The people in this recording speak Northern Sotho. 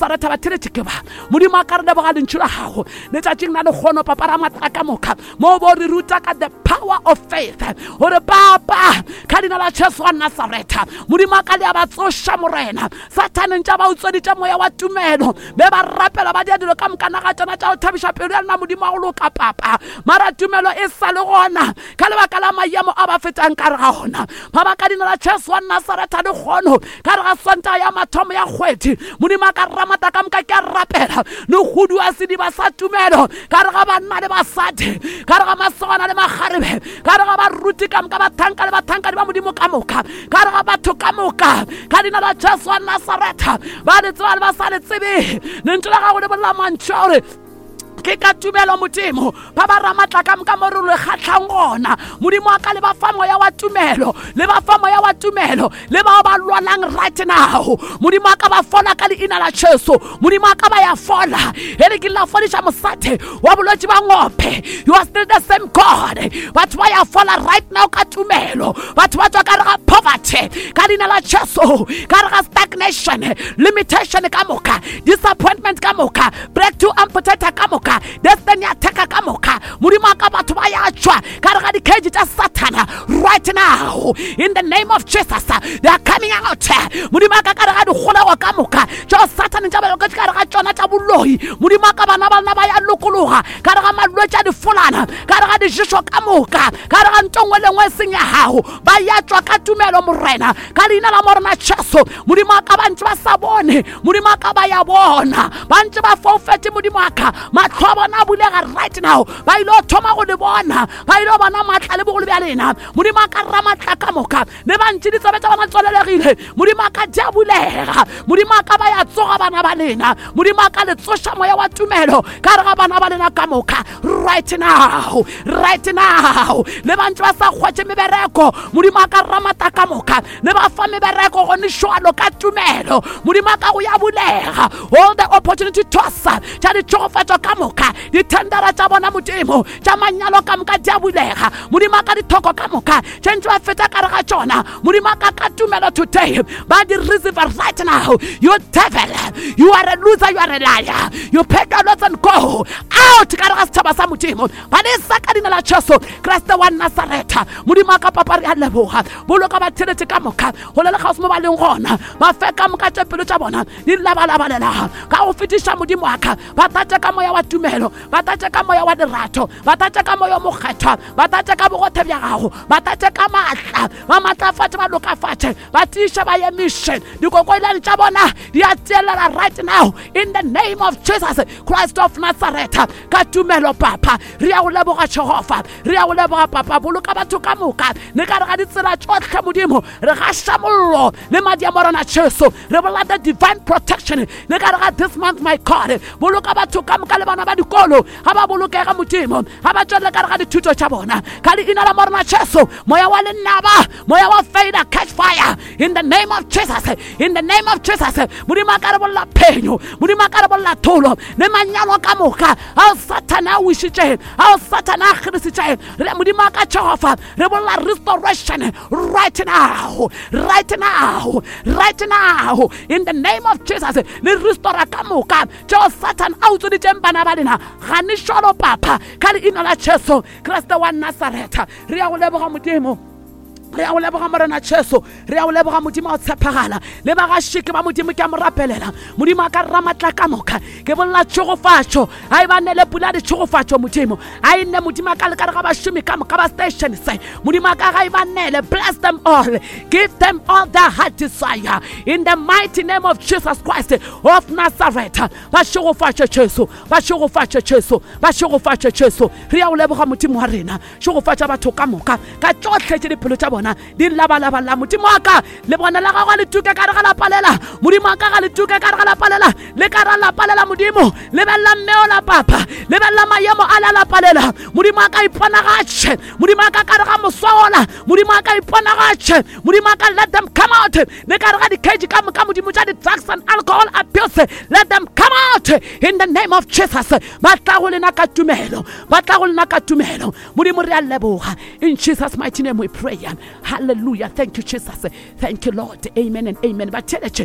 Nasaretha ba theletše ke ba. Modimo a ka re leboga lentšu la gago letšatšing la lekgono, Papa Ramatla ka moka, mo bo re ruta ka the power of faith, gore Papa, ka leina la Jesu wa Nasaretha, Modimo a ka le a ba tsoša, Morena. Sathane ntša ba utsweditše moya wa tumelo, be ba rapela ba dia dilo ka moka naga tšona tša go thabiša pelo ya lena, Modimo wa go loka, Papa, mara tumelo e sa le gona ka lebaka la maemo a ba fetang ka re ga ona. Papa, ka leina la Jesu wa Nasaretha, lekgono ka re ga Sontaga ya mathomo ya kgwedi, Modimo a ka ramata ka moka, ke a rapela le kgudu a sediba sa tumelo ka re ga banna le basadi, ka re ga masogana le makgarebe, ka re ga baruti ka moka, bathanka le bathankadi ba Modimo ka moka, ka re ga batho ka moka, ka leina la Jesu wa Nasaretha, ba le tseba le ba sa le tsebe, lentšu la gago le bolela mantšu a gore ke ka tumelo, Modimo, ba ba ramatla ka moka mo re le kgatlhang gona. Modimo wa ka, le ba fa moya wa tumelo, le ba fa moya wa tumelo, le bao ba lwalang right now, Modimo wa ka, ba fola ka leina la Jesu. Modimo wa ka, ba ya fola. E le ke la fodiša mosadi wa bolwetši ba ngope, you are still the same God. Batho ba ya fola right now ka tumelo. Batho ba tswa ka re ga poverty ka leina la Jesu, ka re ga stagnation, limitation ka moka, disappointment ka moka, breakthrough amputator ka moka, destiny attacker ka moka. Modimo wa ka, batho ba ya tšwa ka re ga di-cage tša Satana right now in the name of Jesus. They are coming out. Modimo wa ka, ka re ga dikgolego ka moka tšeo Satane tša baloketše ka re ga tšona tša boloi, Modimo wa ka, bana ba lena ba ya lokologa ka re ga malwetši a difolana, ka re ga diješo ka moka, ka re ga nto nngwe le nngwe e seng ya gago. Ba ya tšwa ka tumelo, Morena, ka leina la Morena Jesu. Modimo wa ka, ba ntse ba sa bone, Modimo wa ka, ba ya bona. Ba ntse ba foufetše, Modimo wa ka, mahlo a bona a bulega right now. Ba ile go thoma go le bona, ba ile go bona maatla le bogolo bja lena, Modimo wa ka Ramatla ka moka. Le ba ntše ditsebe tša bona tswalelegile, Modimo wa ka, di a bulega. Modimo wa ka, ba ya tsoga bana ba lena. Modimo wa ka, le tsoša moya wa tumelo ka re ga bana ba lena ka moka right now, right now. Le ba ntse ba sa kgwetše mebereko, Modimo wa ka Ramata ka moka, le ba fa mebereko gone šwalo ka tumelo. Modimo wa ka, go ya bulega all the opportunity tosa tša ditšhegofatšo ka moka, dithendera tša bona, Modimo, tša manyalo ka moka di a bulega. Modimo wa ka, dithoko ka moka tše ntse ba feta ka re ga tšona, Modimo wa ka, ka tumelo today ba di receive right now. You devil, you are a loser, you are a liar. You pack your loads and go out ka re ga setšhaba sa Modimo. Ba le sa ka leina la Jesu Kriste wa Nasaretha. Modimo wa ka, Papa, re a leboga. Boloka ba theletše ka moka go le lekgauswi mo ba leng gona. Ba fe ka moka tše pelo tša bona di labalabalela ka go fetiša. Modimo wa ka, ba tlatše ka moya wa tumelo, ba tlatše ka moya wa lerato, ba tlatše ka moya o mokgethwa, ba tlatše ka bogothe bja gago, ba tlatše ka maatla, ba maatlafatše, ba lokafatše, ba tiiše, ba emiše. Dikokoilane tša bona di a tielela right now in the name of Jesus Christ of Nazareth ka tumelo. Papa, re ya go leboga. Jehofa, re ya go leboga. Papa, boloka batho ka moka le ka re ga ditsela tšohle. Modimo, re gaša mollo le madi a Morena Jesu, re bolela the divine protection le ka re ga this month, my God. Boloka batho ka moka le bana ba dikolo ga ba bolokega, Modimo, ga ba tswelele ka re ga dithuto tša bona ka leina la Morena Jesu. Moya wa lenaba, moya wa failure, catch fire in the name of Jesus, in the name of Jesus. Modimo a ka re bolela phenyo, Modimo a ka re bolela tholo le manyalo ka moka ao Sathane a wišitšeng, ao Sathane a kgerisitšeng. Re Modimo a ka Jehofa, re bolela restoration right now, right now, right now in the name of Jesus. Le restora ka moka tšeo Satan a utsweditšeng bana ba lena gane šolo, Papa, ka leina la Jesu Kriste wa Nasaretha. Re ya go leboga, Modimo. Re ya go leboga, Morena Jesu. Re ya go leboga, Modimo a o tshepagala. Le bagašike ba Modimo, ke a mo rapelela. Modimo a ka Ramatla ka moka, ke bolela tšhegofatšo, a e ba nele pula ditšhegofatšo. Modimo a e nne, Modimo a ka le ka re ga bašomi ka moka ba station se. Modimo a ka ga e ba nele. Bless them all, give them all their heart desire in the mighty name of Jesus Christ of Nazareth. Ba šegofatše, Jesu. Ba šegofatše, Jesu. Ba šegofatše, Jesu. Re ya go leboga, Modimo wa rena. Šegofatša batho ka moka ka tšohle tše dipelo tša bona di labalabala. Modimo wa ka, le bona la gago le tuke ka re ga lapalela. Modimo wa ka, ga le tuke ka re ga lapalela, le ka ra lapalela. Modimo, lebelela mmeo la papa, lebelela maemo a la lapalela. Modimo wa ka, iponagatše. Modimo wa ka, ka re ga moswaola. Modimo wa ka, iponagatše. Modimo wa ka, let them come out le ka re ga di-cage ka moka, Modimo, tša di-drugs and alcohol abuse. Let them come out in the name of Jesus. Ba tla go lena ka tumelo, ba tla go lena ka tumelo. Modimo, re a leboga. In Jesus' mighty name we pray. Hallelujah. Thank you, Jesus. Thank you, Lord. Amen and amen. Ba theletše.